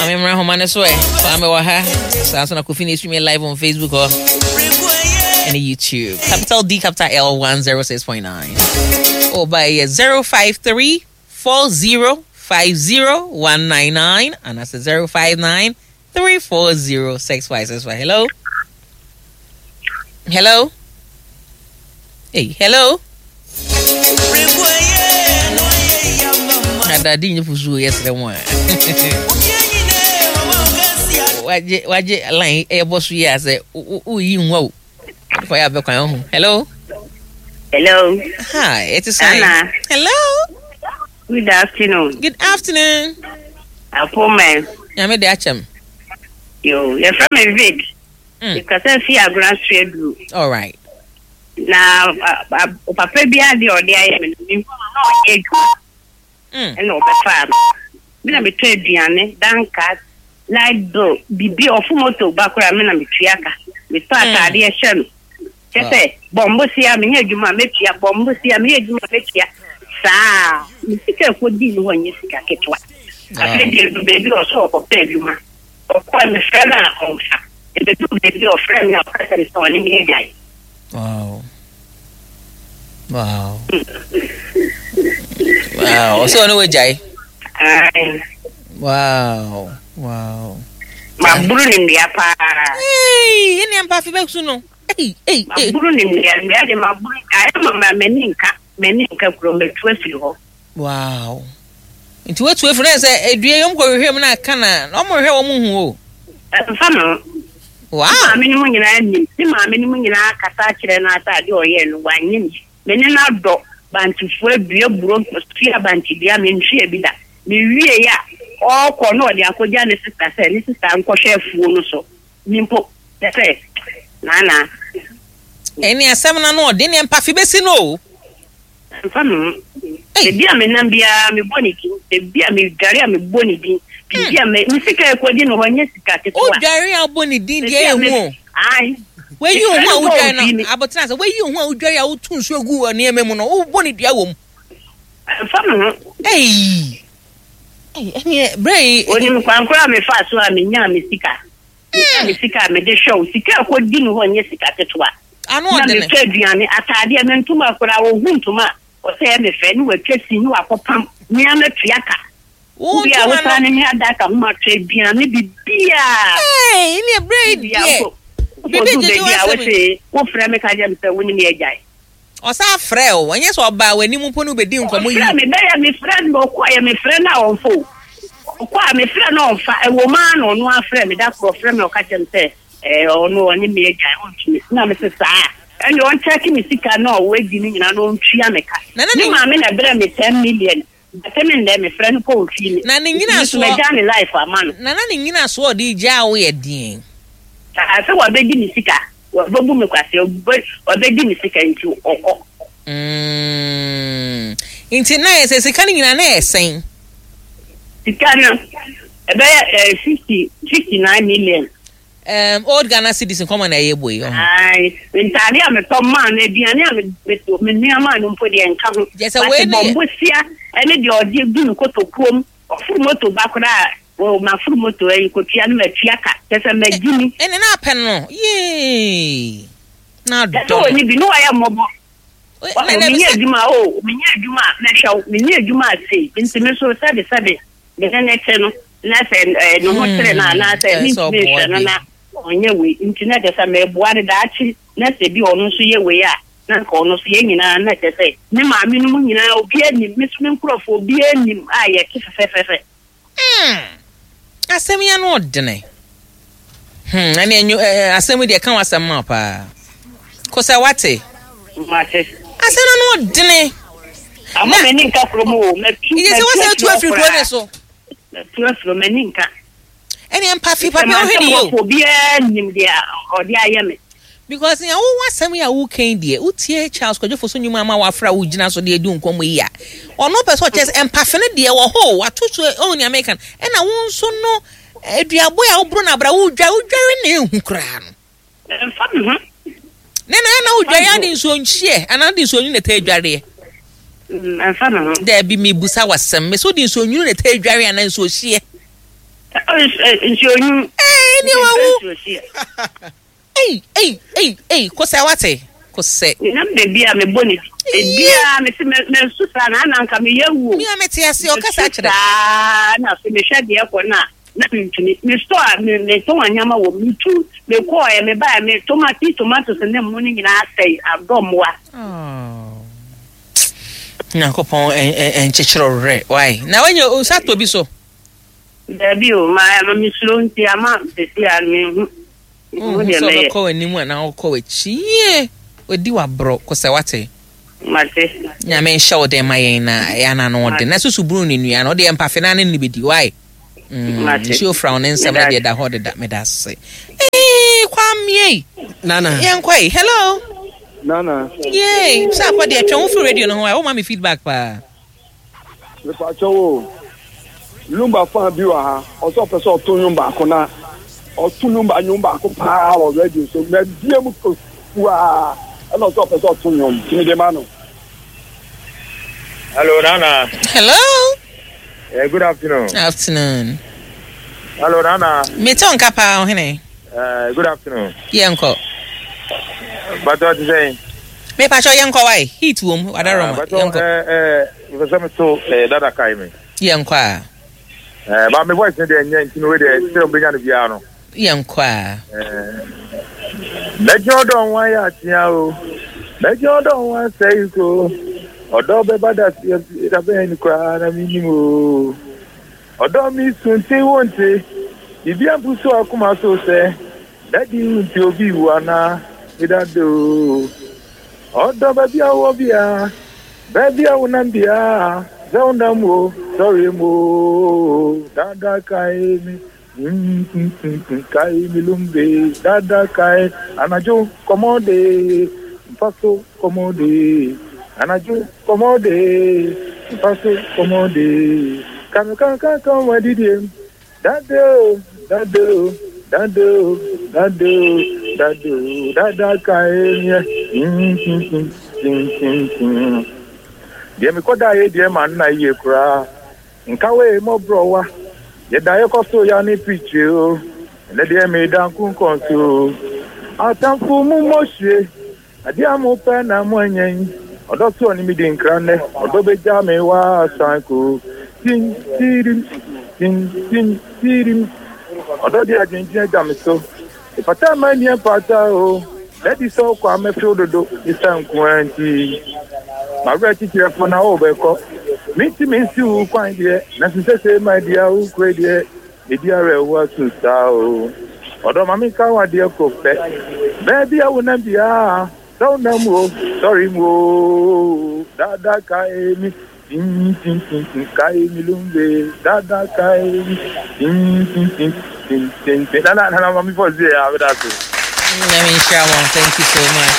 Maame mmra homa no so ɛ. Kwame wɔ ha. Saa nso na Kofi na streaming live on Facebook hɔ. Ɛne YouTube. Capital D capital L 106.9. Oh, by 053 40 50 199 and that's 059 340 6565. Hello? Hello? Hey, hello? Adade nye fusuo yɛ srɛ mu a. Wagye wagye line ɛbɔ so yi a sɛ woyi nwa o. Kɔ yɛ abɛkwan ho. Hello? Hello. Hi, it is Anna. Hello. Good afternoon. Good afternoon. Apoma. Nyame de akyɛm. Yo, yɛfrɛ me Vic. Mekasa fi Agona Suaduru. All right. Na papa bi ade a ɔde ayɛ me no, mehu no na ɔnyɛ adwuma. Ɛna ɔbɛfaa me. Me na metɔ aduane, danka, light bill, biribi, ɔfo moto ba koraa me na metua ka. Metɔ ataadeɛ hyɛ no. Kyɛ sɛ bɔ mbosia menyɛ adwuma a mɛtua, bɔ mbosia meyɛ adwuma a mɛtua. Saa me sika ɛkɔdii no hɔ nyɛ sika ketewa. Afei deɛ ɛdu baabi a ɔsɛ ɔkɔpɛ adwuma. Ɔkɔɛ mefrɛ no a ɔmfa. Ɛbɛduru baabi a ɔfrɛ me a ɔka kyerɛ me sɛ ɔne me agyae. Wow. Wow. Wow. Ɔsɛ ɔne wagyae. Wow. Wow. Maburu ne nnua paa. Hey, ɛne ampa afe bɛsu no. Hey, hey, hey. Maburu ne nnua, nnua de maburu ayɛ ma ma m'ani nka, m'ani nka kuro matu afiri hɔ. Wow. Nti watu afiri na sɛ edua yi ɔmo kɔ hwehwɛ mu na aka na na ɔmo hwehwɛ wɔn hu o. Ɛmfa me ho. Wow. Ne maame no mu nyinaa nim. Ne maame no mu nyinaa kasa akyerɛ no asa adeɛ ɔyɛɛ no wanyɛ ni. Me ne no adɔ bantefoɔ adua buro sua bantedua menhwɛɛ bi da. Mewiei a ɔrekɔ na ɔde akɔgya ne sista sɛ ne sista nkɔhwɛ afuo no so. Me mpo kyɛ sɛ naanaa. Ɛne asɛm no ano ɔden ne mpafe bɛsi no o. Ɛmfa me ho. Baabi a menam biara mebɔ ne din. Baabi a medware a mebɔ ne din. Biribi a me me sika a ɛkɔdi no hɔ nyɛ sika ketewa. Wodware a wobɔ ne din deɛ Baabi a ɛyɛ hu me o. ae. Wayi wo Mefrɛ ho a no mpo a wodware ɔmfii no me. abotena sɛ wayi wo ho a wodware a wotu nsuo gu wɔ nneɛma mu no wobɔ ne dua wɔ mu. Ɛmfa me ho. Ei! Ei, ɛneɛ berɛ yi. Onim kwan koraa a mefaa so a menyaa me sika. Menyaa me sika a mede hwɛ wo. Sika a ɛkɔdi no hɔ nyɛ sika ketewa. Ano Na ɔdene. metɔ aduane, ataadeɛ, me ntoma koraa, ɔhu ntoma a, ɔsɛ ɛyɛ me fɛ, ne watwa sin, ne wakɔpam, me ara matua ka. Wo Wowie a, ntoma wosan no. ne me adaka ho matɔ aduane, biribiara. Ei, ɛneɛ berɛ yi Wowie a, deɛ. wokɔ, Biribi wokɔduru gyegye baabi a, w'asɛm yi. wose, wofrɛ me ka kyerɛ me sɛ wo ne me agyae. Ɔsan frɛɛ wo, ɛnyɛ sɛ ɔbaa w'anim mpo ne wo bɛdii nkɔmmɔ Ɔfrɛɛ yi. me, bɛyɛ mefrɛ no, ɔkɔeɛ, mefrɛ no a ɔmfa o. Ɔkɔ a mefrɛ no a ɔmfa, ɛwɔ mu ara na ɔno ara frɛɛ me, da koro ɔfrɛ me ɔka kyerɛ me sɛ ɛɛ ɔno ɔne me agyae, ɔntumi. Na mese saa a, ɛnneɛ ɔnkyɛke me sika no a wadi no nyinaa na ɔntua me ka. Na na Ne ne. maame na ɛbrɛɛ me 10 million, bɛpem nnɛ mefrɛ no mpo ɔmfii me. Na ne Nti me nso nyinasoɔ. magyaa ne life ama no. Na na ne nyinasoɔ a ɔde gyaa wo yɛ deɛn? Saa sɛ wabɛdi me sika, wabɛbu me kwasea, wabɛdi me sika nti ɔkɔ. Nti na yɛ sɛ sika no nyinaa na yɛ sɛn? Sika no ɛbɛyɛ 59 million. Old Ghana cedis nkɔmɔ na ɛyɛ bɔ yi. Ayi, ntaade a metɔ maa no, aduane a me nua maa no mpo deɛ nka ho. Gyɛ sɛ wei ne yɛ. Bɔmbosia ɛne deɛ ɔde gu ne kotokuom, ɔforo moto ba koraa, wɔ maforo moto ayi kotua no matua ka, kyɛ sɛ magyi mi. Ɛne na apɛ no yee. Na Kyɛ adɔ sɛ no. wɔni bi ne wɔyɛ mmɔbɔ. Na na Menyɛ sɛ adwuma o, menyɛ adwuma a mɛhwɛ wo, menyɛ adwuma a sei, nti me so sɛbe sɛbe me ne ne te no, na sɛ ne ho kyere no anaasɛ ɛsɛ mentumi ɔboa nhwɛ no bi. na ɔnyɛ wei, nti na kyerɛ sɛ meboa no daakye, na sɛ bi ɔno nso yɛ wei a, na nka ɔno nso yɛn nyinaa na kyerɛ sɛ me maame no mu nyinaa obiara nim, me nso me nkurɔfoɔ obiara nim a yɛte fɛfɛɛfɛ. Asɛm yi ano ɔdene. Ɛne enyo ɛɛ asɛm yi deɛ ka w'asɛm ma paa. Kosɛ wate. Mate. Asɛm no ano ɔdene. Ama m'ani nka kurom o, matu Iye sɛ matu wɔsɛ afiri atu hɔ afiri kuro ne koraa. so. Matu afiri hɔ, m'ani nka. Ɛne mpafe Sɛ papa wohwɛ mantam ne yie o. hɔfo obiara nim deɛ ɔde ayɛ me. Because nea wowɔ asɛm yi a woka yi deɛ, wotie Charles Kwadwo Fosu nnwuma ama wafra wo gyina so de adi nkɔmmɔ yi a, ɔno pɛ sɛ ɔkyerɛ sɛ mpafe no deɛ wɔ hɔ o, wato so ɔhu nea meka no. Ɛna wo nso no, aduabɔ a woboro no abra wodware, wodware na ehu koraa no. Ɛmfa me ho. Ne na na wodware ade nsuo nhyeɛ anaa wode nsuo nwunu na ɛtaa adwareɛ? Ɛmfa me ho. Daabi, mebusa w'asɛm. Mese wode nsuo nwunu na ɛtaa adware anaa nsuo hyeɛ? Nsuo nwunu. Ee ne wawu. Ei ei ei ei kosɛ wate kosɛ. Menam baabi a mebɔ ne di. Ebiara mese mɛsu saa na ana nka meyɛ wuo. Mi a mete ase ɔkasa kyerɛ. Saa na afei mehwɛ deɛ ɛkɔ no a na mentumi. Me store a metɔn nneɛma wɔ mu metu mekɔɔɛ mebaeɛ me tomati tomatoes ne mmo no nyinaa asɛe adɔ mmoa. Nyankopɔn nkyekyere werɛ why na wanya nsa tɔ bi so. Dabi o ma ma mesuro nti ama sɛsi a menhu. Wonhu sɛ wobɛkɔ w'anim anaa wokɔ w'akyi. Yie, wadi w'aborɔ kosɛ wate. Mate. Nyame nhyɛ wo den ma yɛn na ɛyɛ ana no ɔden. Na susu bunu ne nua no, ɔde mpafe na ne ne bɛdi. Why? Mate. Nsuo fra wo ne nsɛm no deɛ da hɔ deda. Meda ase. Ee, Kwame. Nana. Yɛnkɔ yi. Hello. Nana. Yay. Sɛ akɔ deɛ twɛn wo firi radio no ho a, woma me feedback paa. Mepakyɛw o, Lumba fan bi wɔ ha, ɔsɛ ɔpɛ sɛ ɔto nnwom baako na ɔto Lumba nnwom baako paa wɔ radio so. Mabie mu kuaa ɛna ɔsɛ ɔpɛ sɛ ɔto nnwom nti mede ma no. Hello, Nana. Hello. Yeah, good afternoon. Afternoon. Hello, Nana. Mete wo nka paa, ɔhene. Good afternoon. Yɛnkɔ. Bàtɔ ti sẹ́yìn. Me pacho yɛnkɔ wae. Heat wom, wadaroma. Bàtɔ ɛɛ ɛɛ mepɛ sɛ meto ɛɛ dada kae me. Yɛnkɔ a. Ɛɛ ba me voice ne deɛ nyɛ nti no wei deɛ sɛ ɔbɛnya no biara no. Yɛnkɔ a. Ɛɛ mɛgye ɔdɔ ho ayɛ atea o mɛgye ɔdɔ ho asɛe ko ɔdɔ bɛba da da bɛn ni koraa na menim o ɔdɔ me sunti wo nte biribi ampu so akoma so sɛ Daddy wo nti obi wu anaa? Me daddy oo. Ɔdɔ baabi a wowɔ biara, baabi a wonam biara, sɛ wonam o, sɔre mu o, dada kae me, mm, kae me lumbe, dada kae, anadwo kɔmɔ de, mfa so kɔmɔ de, anadwo kɔmɔ de, mfa so kɔmɔ de, kame kankan kan wadidiem. Daddy o, daddy o, daddy o, daddy o, daddy o, dada kae meɛ, mm, mm, Deɛ mekɔdaeɛ deɛ ma nna yie koraa, nka wei mmɔborɔwa, yɛdaeɛ kɔ so ya ne pikyire o, ɛnɛ deɛ meda nkonkɔn so o, atamfo mu mmɔhwie. Adeɛ a mopɛ na moanya yi, ɔdɔ so ɔne me di nkra nnɛ, ɔdɔ bɛgya me waa san ko. Tim tirim, tim tim tirim, ɔdɔ de adwendwen agya me so. Mefata ma nni mfata o, dadi sɛ wokɔ a mɛfew dodo, ne sa nko ara nti. M'awerɛ kyekyerɛfo na wobɛkɔ, mentumi nsi wo kwan deɛ, nanso sɛsɛɛ madi a wokɔ yi deɛ. Medi awerɛhoɔ asu saa o. Ɔdɔ ma menka wo adeɛ koro pɛ. Baabi a wonam biara, sɛ wonam o, sɔre mu o. Dada kae me, tintintintin, kae me lumbe. Dada kae me, tintintintintintin. Nana, nana ma me fɔ zie a, meda ase. Nyame nhyira mo. Thank you so much.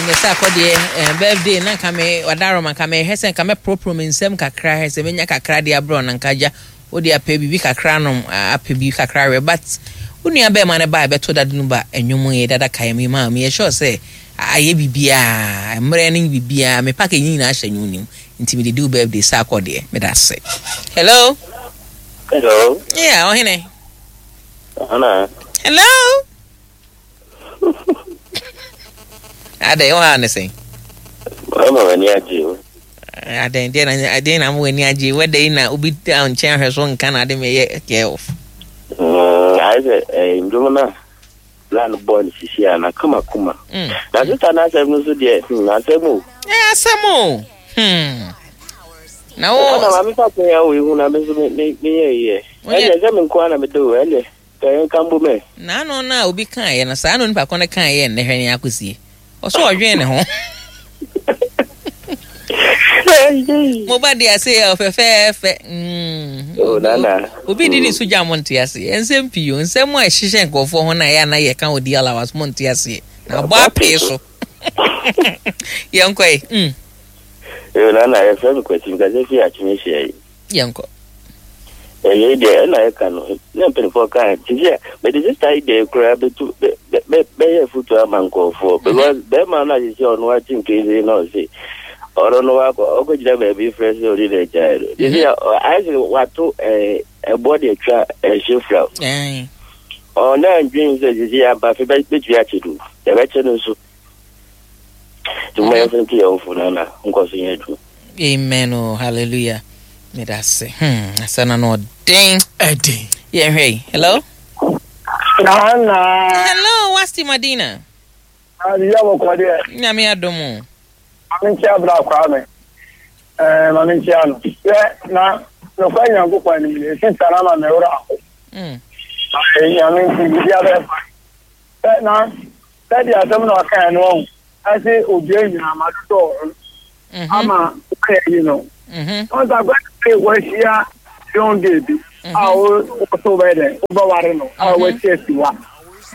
Nyɛ sɛ akɔdeɛ eh, birthday na nka me wadaroma nka mehwɛ sɛ nka mɛporoporo me nsam kakra hwɛ sɛ menya kakra de abrɛ na nka agya wode apɛ biribi kakra nom apɛ biribi kakra werɛ but wo nua bɛrima no ba a ɛbɛto dade no ba ɛnwom yɛ dada kae me maa meyɛ sure sɛ ayɛ biribiaa mmerɛ ne biribiaa me package nyinaa hyɛ nwom nim nti mede di wo birthday sɛ akɔdeɛ meda ase. Hello. Hello. Yeah, ɔhene. Ana. Hello. Adɛn, wo ha ne sɛn? Mama w'ani agye o. Adɛn, deɛ na adɛn na ama w'ani agye? Wɛda yi na obi da nkyɛn ahwɛ so nka na ade meyɛ care of. Ayɛ sɛ ndwom no a na no bɔɔ no sisi a na kama kuma. Na sista no asɛm no so deɛ, asɛm o. Asɛm o. Hmm. Na wo. Na maame fa kwan a wo ehu na me nso me me me yɛ yɛ. Ɛnna sɛ me nko ara na me de o ɛnna ka yɛn ka mbom ɛ. N'ano no a obi kaeɛ no saa na onipa ko no kaeɛ nnɛ hwɛ nea akɔsie. Ɔso ɔdwen ne ho. Mo ba de ase yɛ ɔfɛfɛɛfɛ. Mm. Oh, nana. Obi di ne so gya mo nte aseɛ. Nsɛm pii o. Nsɛm a ɛhyehyɛ nkurɔfoɔ ho na ɛyɛ ana yɛka wɔ di alawas mo nte aseɛ. Na abɔ apee so. Yɛnkɔ yi. Mm. Yo, nana, yɛfrɛ me Kwasi, mekasa fi Akyem Ahyia yi. Yɛnkɔ. Ɛyɛ deɛ ɛna ɛka no, na mpanimfoɔ ka te sɛ mede sista yi deɛ koraa bɛtu bɛyɛ foto ama nkurɔfoɔ because bɛrima no ahyehyɛ ɔno ate nkese na ɔse Ɔno no wakɔ ɔkɔgyina baabi frɛ sɛ ɔne no agyae no. Te sɛ ayɛ sɛ wato ɛboɔ de atwa ɛhye fra. Ɔna ndwen sɛ sisi aba fe bɛtumi akye no. Yɛbɛkye no nso. Nti mo yɛmfa nti yɛn fo no na nkɔ so nyɛ adwuma. Amen o hallelujah. Meda ase. Asɛm no ɔden. Ɛden. Yɛnhwɛ yi. Hello. Nana. Hello, Wasti Madina. Adi ya bɔkɔ deɛ. Nyame adom o. Maame nkyia bra Kwame. Ɛɛ maame nkyia no. Sɛ na nokwa Nyankopɔn anim no esi sa na ma me wura aho. Mm. Nyame nti biribi abɛyɛ fa. Sɛ na sɛdeɛ asɛm na ɔkae no ɔho ɛse obia nyinaa ma dodɔ ho mhm. ama wɔyɛ yi no. Mhm. Ɔnsa kwan sɛ wɔahyia young gay bi a wo so bɛyɛ dɛ wobɛware no a wasi asiwa.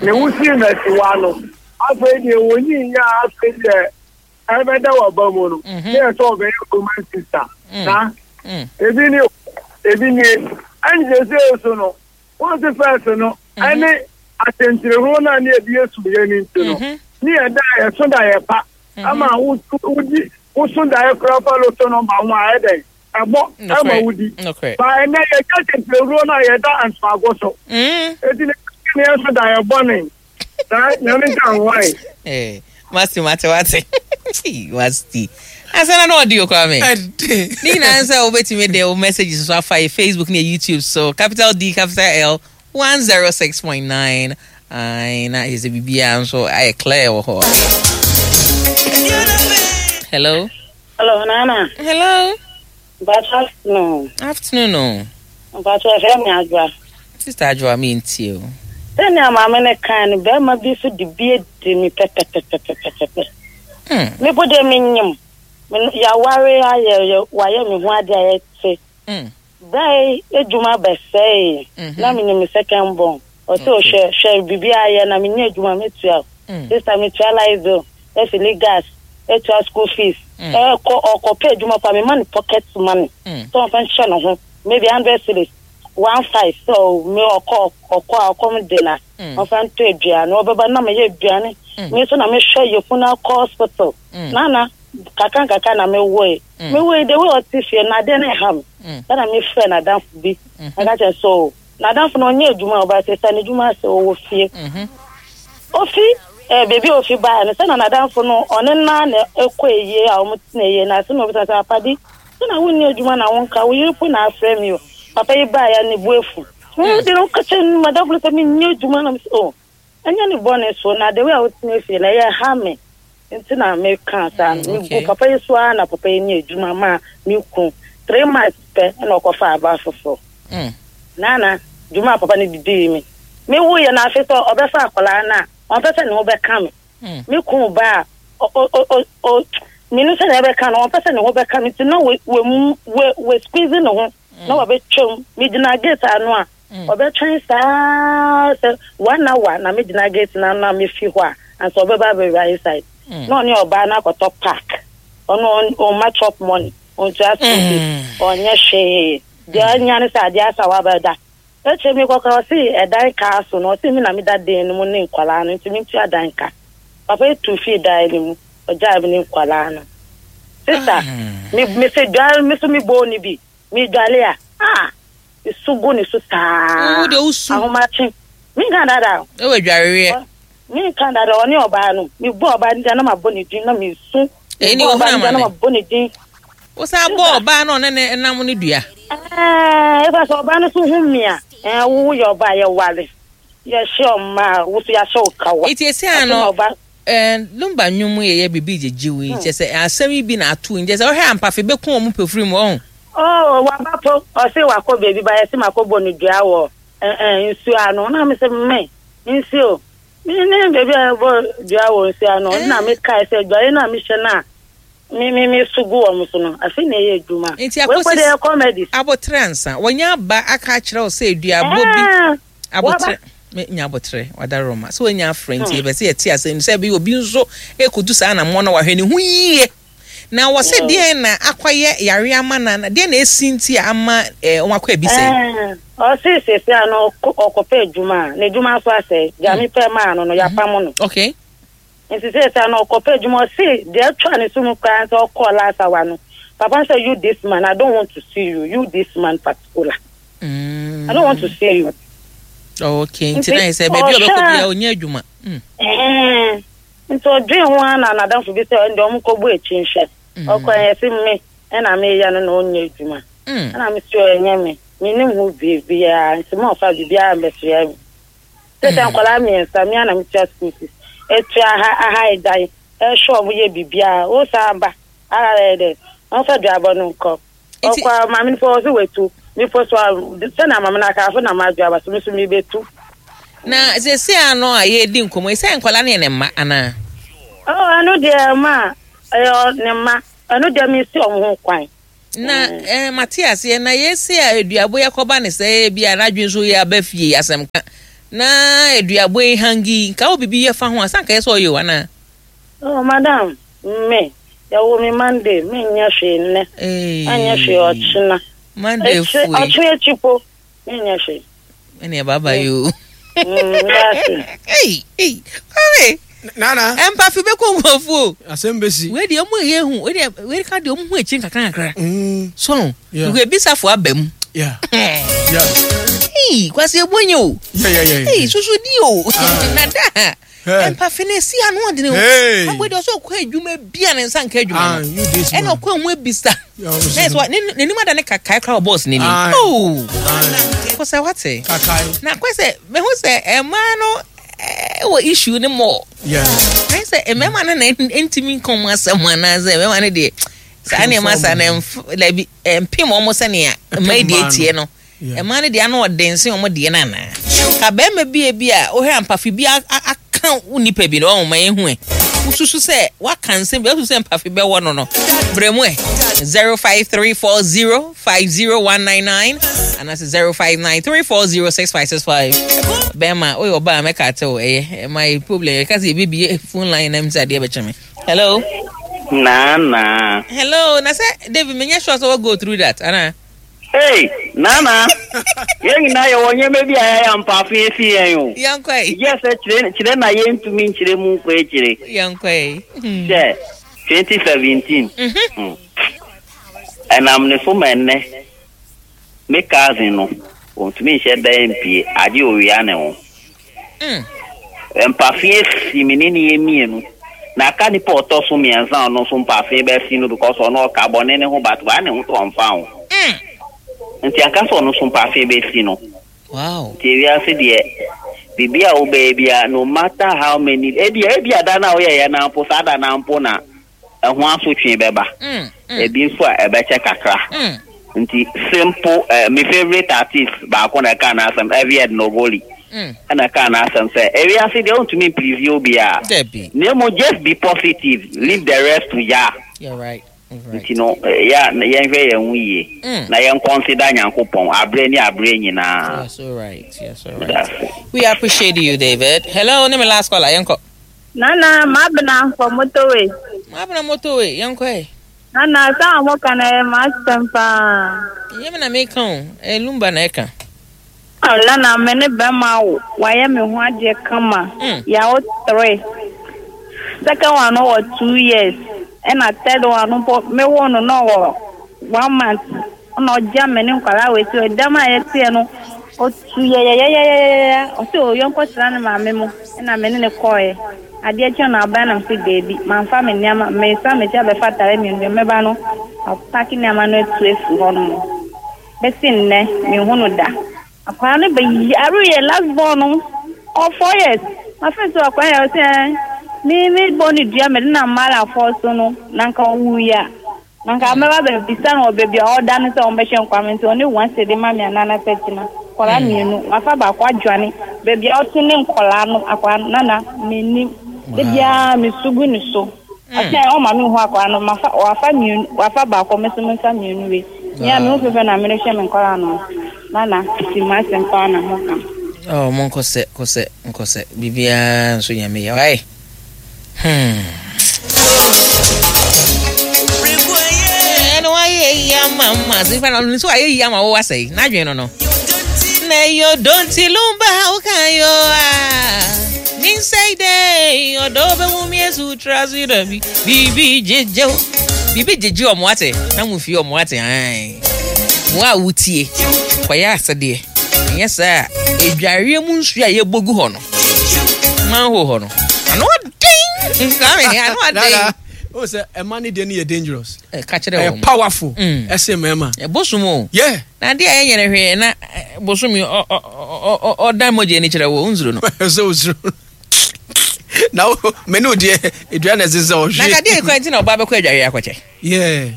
Ne wosii no asiwa no afei deɛ wɔnyi nyɛ a afei deɛ ɛbɛda waba mu no ne yɛ sɛ ɔbɛyɛ roman sister na ebi ne ebi nie ɛnkyɛ sɛ so no wɔn se fɛs no ɛne atɛntɛrɛhuro no a ne yɛde yɛ sumyɛ no nti no ne yɛda yɛso da yɛ pa ama wodi woso daeɛ koraa fa loto no ma ho a ɛdɛn ɛbɔ ɛma wodi ba ɛnɛ yɛgya atɛntɛrɛhuro no a yɛda ntoago so eti ne ne yɛso da yɛ bɔne saa nyame nka ho ae. Masti mate wate masti asana na ɔde okwa me ne nyinaa sɛ wobɛtumi de wo messages so afa yɛ Facebook ne yɛ YouTube so capital D capital L 106.9 ai na ɛsɛ sɛ biribiara nso ayɛ clear wɔ hɔ. Hello. Hello, Nana. Hello. Mpacho afternoon. Afternoon o. Mpacho ɛfɛ mi Adwoa. Sister Adwoa mi ntie o. Sɛnea maame no kan no, bɛrima bi nso de bi adi me pɛpɛpɛpɛpɛpɛ. Hmm. Me bo deɛ menyim. Yɛaware ayɛ wayɛ me ho ade a yɛte. Hmm. Berɛ adwuma bɛsɛe mhm. na menyim me second born. Ɔsɛ ɔhwɛ hwɛ biribi ayɛ na menyɛ adwuma metua. Hmm. Sister metua light bill, efili gas, etua school fees. Ɛkɔ ɔkɔpɛ adwuma pa mema no pocket money. Sɛ ɔmfa nhyɛ ne ho maybe 100 cedis. 15 sɛ me ɔkɔ ɔkɔ a ɔkɔm de na ɔmfa ntɔ aduane ɔbɛba na meyɛ aduane me nso na mehwɛ yɛfunu akɔ hospital nana kakra nkakra na mewoe mewoe de wei ɔte fie na adeɛ no ɛha me ɛna mefrɛ n'adamfo bi ɛka kyerɛ so n'adamfo no ɔnyɛ adwuma ɔba sɛ sɛ n'adwuma sɛ ɔwɔ fie ofi ɛɛ beebi a ofi baa no sɛ na n'adamfo no ɔne naa na ɛkɔ eyie a wɔn tena eyie na asɛm na obisa sɛ apadi sɛ na wonni adwuma na wonka wo yere po na afrɛ mi o papa yi baa ya ne bu efu de no kakyɛ no madamfo no sɛ menyɛ adwuma na mesɛ o ɛnyɛ ne bɔne so na the way a wotena fie na ɛyɛ ha me nti na meka saa no megu papa yi so ara na papa yi nyɛ adwuma ma me ku 3 months pɛ ɛna ɔkɔfa aba foforɔ nana dwuma a papa no didii me mewuyɛ no afe sɛ ɔbɛfa akwaraa no a ɔmpɛ sɛ ne ho bɛka me me ku ba a menu sɛ ne ɛbɛka no ɔmpɛ sɛ ne ho bɛka me nti na we squeeze ne ho na wabɛtwam megyina gate ano a ɔbɛtwɛn saa sɛ one hour na megyina gate no ano a mefi hɔ a ansa ɔbɛba abɛwura inside na ɔne ɔbaa no akɔtɔ park ɔno ɔma chop money ɔntua school fees ɔnyɛ hwee deɛ ɔnya ne sɛ adeɛ asa wabɛda ekyir mi kɔkɔrɔ ɔsi ɛdan kaa so no ɔsi mi na mi da dan no mu ne nkwalaa no nti mi ntua dan ka papa etu fii dan no mu ɔgyaa mi ne nkwalaa no sista mi mi sɛ dware mi so mi bɔ ne bi mi dware a ah esu gu ne so saa ahomakye mi nka dada ɛwɔ dwareɛ mi nka dada ɔne ɔbaa no mi bɔ ɔbaa no din na ma bɔ ne din na mi su mi bɔ ɔbaa no din na ma bɔ ne din. Wosan bɔ ɔbaa no ɔne ne nam no dua. Ɛɛ efa sɛ ɔbaa no so hu mi a ɛɛ wo yɛ ɔbaa yɛ ware yɛhyɛ ɔmaa wo so yɛahyɛ wo kawa. Eti esi ano ɛɛ lumba nnwom yɛ yɛ bibi gyegye wo yi kyɛ sɛ asɛm yi bi na ato yi kyɛ sɛ ɔhwɛ ampafe bɛku wɔn pɛfiri mu ɔho. Oo waba po ɔse wakɔ beebi ba yɛse makɔ bɔ no dua wɔ ɛɛ nsuo ano na me se me nsuo me ne beebi a yɛbɔ dua wɔ nsuo ano na me kae sɛ dwaeɛ no a mehyɛ no a me me me so gu wɔn so no afei na ɛyɛ adwuma. Nti akosi comedy. Abotrɛ ansa wɔnya aba aka akyerɛ wo sɛ aduabɔ bi abotrɛ nya abotrɛ wada roma sɛ wɔnya afrɛ nti yɛbɛ sɛ yɛte asɛm sɛ ɛbɛyɛ obi nso ɛkɔdu saa anammɔ na wahwɛ ne ho yie na wɔ sɛ deɛn na akɔyɛ yare ama na deɛn na ɛsi nti a ama wɔn akɔ abisa yi. Ɔse sese a no ɔkɔpɛ adwuma a n'adwuma nso asɛe gyame pɛ maa no no yɛapam no. Okay. Nti seesei no ɔkɔpɛ adwuma ɔse deɛ atwa ne so mu koraa sɛ ɔkɔɔ last hour no papa no sɛ you this man I don't want to see you you this man particular mm. I don't want to see you. Oh, okay nti na yɛ sɛ baabi a ɔbɛkɔ bia ɔnyɛ adwuma. Mm. Eh, nti ɔdwen ho ara na n'adamfo bi sɛ ɛnde ɔmo kɔbɔ akyi nhwɛ mm. ɔkɔ ɛyɛ se me ɛna meyɛ no na ɔnyɛ adwuma mm. ɛna me sɛ ɛnyɛ me menim ho biribiara nti ma ɔfa biribiara mbɛsoa me Te sɛ nkwadaa mmiɛnsa, me ara na metua school fees, etua aha aha dan, ɛhwɛ wɔn yɛ biribiara. Wo san ba, ara yɛ dɛ, wɔmfa duabɔ no nkɔ. Ɔkɔ a, maame no pɔ ɔsɛ watu. Mepɔ so a, sɛnea maame no aka, afei na madwo aba so, me nso mebetu. Na seesei ano a yɛredi nkɔmmɔ yi, sɛ nkwadaa no yɛ ne mma anaa? Oh, ɛno deɛ ma ɛyɛ ne mma. Ɛno deɛ mesi wɔn ho kwan. Na eh, mate aseɛ na yɛse a aduabo yi akɔba ne sɛ bi a n'adwene nso yɛ aba fie asɛm ka na aduabo yi hangi nka wo biribi yɛ fa ho a sɛ anka yɛ sɛ ɔyɛ o anaa? Oh madam, me, yɛwo me Monday, menyɛ hwee nnɛ, ɛnyɛ hwee ɔkyena, Monday fue. Ɔkyena akyi po, menyɛ hwee. Ɛne bye bye o. Mm, Hey, hey, Kwame. Nana. Empafi bɛkɔ nkurɔfoɔ o. Asɛm bɛsi. Wei deɛ ɔmo yɛ hu, wei deɛ wei ka deɛ ɔmo hu akyiri nkakra nkakra. Mm. So, yeah. Ebisafo aba mu. Yeah. Yeah. Hey, kwasi ebu enye o. Yeah, yeah, yeah. Hey, susu di o. Ah. Nada. Empafi na esi ano ɔdene o. Hey. Agbo deɛ ɔsɛ ɔkɔ adwuma bi a ne nsa nka adwuma Ah, no. you this Ɛna man. ɔkɔ ehu ebisa. Yeah, ɔno Na ɛsɛ n'anim ada ne kakae koraa wɔ bɔs n'anim. Aye. Oh. Kɔsɛ wate. Kakae. Na kɔ sɛ mehu sɛ mmaa no wɔ issue ne mɔ. Yeah. Ayɛ sɛ mmarima no na ntumi nka wɔn asɛm anaasɛ mmarima no deɛ saa nneɛma saa na ɛmf ɛmpem wɔn sɛnea mmaa yi deɛ tie no. Mmaa no deɛ ano ɔden sen wɔn deɛ no anaa? Ka barima bi a bi a wohwɛ ampafe bi aka wo nipa bi no ɔho ma yɛhu ɛ. Wosusu sɛ waka nsɛm bi wosusu sɛ mpafe bɛwɔ no no. Brɛ mu ɛ. 05340 50199 anaasɛ 0593406565. Bɛrima woyɛ ɔbaa mɛka ate wo ɛyɛ ɛma yɛ problem yɛka sɛ yɛbɛbie phone line na msɛ adeɛ bɛkyɛ me. Hello. Nana. Hello na sɛ David menyɛ sure sɛ wɔ go through that anaa? Hey, Nana, yɛn nyinaa yɛwɔ nneɛma bi a yɛayɛ ampaafo esi yɛn o. Yɛnkɔ yi. Yɛ sɛ kyerɛ kyerɛ na yɛntumi nkyerɛ mu nkɔ akyire. Yɛnkɔ yi. Sɛ 2017. Mm. Ɛnam ne so ma ɛnnɛ me cousin no ɔntumi nhyɛ dan mpie agye owia ne ho. Mm. Mpafe asi me ne ne yɛ mmienu. Na aka nipa ɔtɔ so mmiɛnsa a ɔno nso mpafe bɛsi no because ɔno ɔka bɔne ne ho but waa ne ho to ɔmfa ho. Mm. Nti anka sɛ ɔno nso mpafe bɛsi no. Wow. Nti ewiase deɛ biribi a wobɛyɛ biara no matter how many ebi ebi ada no a woyɛyɛ no mpo saa da no mpo na ɛho asotwe bɛba. Mm, mm. Ebi nso a ɛbɛkyɛ kakra. Nti simple eh, me favourite artist baako na ɛkaa n'asɛm, Evied Nogoli. Ɛna ɛkaa n'asɛm sɛ, ewiase deɛ wontumi mplease obiara. Dabi. Na mmom just be positive, leave the rest to Jah. You're right. You're right. Nti no, eh, yɛ a na yɛnhwɛ yɛn ho yie. Na yɛn consider Nyankopɔn aberɛ ne aberɛ nyinaa. You're so right. You're so right. Meda ase. We appreciate you, David. Hello, ne me last caller. Yɛnkɔ. Nana, mabena for motorway. Mabena motorway, yɛnkɔ ɛ. Nana, asɛm a moka no ɛyɛ m'asɛm paa. Ɛnyɛ me na meka o, ɛyɛ Lumba na ɛka. Oh, Nana, me ne bɛrima awo, wayɛ me ho adeɛ kama. Mm. Yɛawo three. Second one no wɔ 2 years, ɛna third one no mpo mewo no na ɔwɔ one month. Ɛna ɔgya me ne nkwadaa wɔ akyi, ɛdam a yɛteɛ no, ɔtu yɛyɛyɛyɛyɛyɛ, ɔsɛ o yɔnkɔ tena ne maame mu, ɛna me ne ne kɔɔɛ. Adeɛ kye no aban nam sɛ daabi, mamfa me nneɛma, mesan m'akyi abɛfa atare mmienu deɛ mɛba no, apack nneɛma no atu afiri hɔ nom. Bɛsi nnɛ, menhu no da. Akwadaa no bɛyare yɛ last born no, ɔwɔ 4 years. Afei so akwadaa yɛ ɔsɛ ɛn, me bɔ ne dua mede nam malafoɔ so no, na nka ɔwuiɛ a, na nka mɛba bɛbisa no wɔ baabi a ɔda no sɛ ɔmbɛhyɛ nkwa me nti ɔne one cedi ma me anaa na sɛ kyena. Nkwadaa mmienu, wafa baako adwane. Baabi a ɔte ne nkwadaa no, akwadaa no, nana, mennim. Da biara mesu gu ne so. Ɔsɛ ɔma me hu akwadaa no, mafa, wafa mmienu, wafa baako, me nso memfa mmienu wei. Me a me ho fɛfɛ na merehwɛ me nkwadaa no. Nana, ti m'asɛm paa na moka. Oh, mo nkɔsɛ, kɔsɛ, nkɔsɛ. Biribiara nso Nyame yɛ. Wai. Ɛna wayɛ yi ama ma. Sɛ na nso ayɛ yi ama wo asɛe. N'adwene no no. Na yo don't lumba how can you ah. Nyinsɛe dɛ ɔdɔ bɛhu me asu tra so da bi biribi gyegye wo biribi gyegye ɔmo ate na mo fie ɔmo ate ae mo a wotie kɔyɛ asɛdeɛ ɛnyɛ saa a adwareɛ mu nsuo a yɛbɔ gu hɔ no manhole hɔ no ano ɔden Kwame ano ɔden o sɛ ɛma ne deɛ no yɛ dangerous ka kyerɛ ɛyɛ wɔn powerful ɛsɛ mmarima ɛbosom o yeah na adeɛ a ɛnyɛ no hwee na bosom yi ɔdan mogya ani kyerɛ wo nsuro no sɛ osuro na wo me ne wo deɛ edua na ɛsɛ sɛ ɔhwe na kadeɛ ekura nti na ɔbaa bɛkɔ adwareɛ akɔkyɛ yeah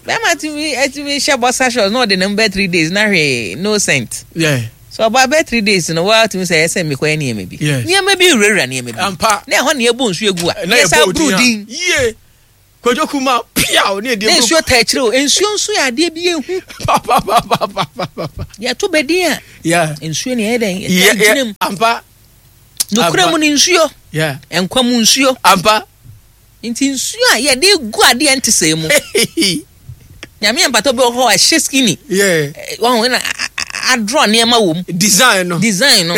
bɛrima tumi atumi hyɛ bɔsa shorts na ɔde nam bɛ 3 days na hwee no scent yeah so ɔbaa bɛ 3 days no wɔatumi sɛ ɛsɛ mmekɔ yɛ nneɛma bi nneɛma bi wurawura nneɛma bi ampa na ɛhɔ na yɛbɔ nsuo egu a na yɛsa buru din yie Kwadwo Kuma piaw ne ɛdeɛ Na nsuo taa akyire o. Nsuo nso yɛ adeɛ bi ehu. Papapapapapa. Yɛto bɛdin a. Yeah. Nsuo ne ɛyɛ dɛn? Yɛtaa gyina mu. Ampa. Nokura mu ne nsuo. Yeah. Nkwa mu nsuo. Ampa. Nti nsuo a yɛde gu adeɛ nte sɛ mu. Nyame yɛ mpata bi wɔ hɔ a ɛhyɛ skinny. Yeah. Wɔn na adrɔ nneɛma wɔ mu. Design no. Design no.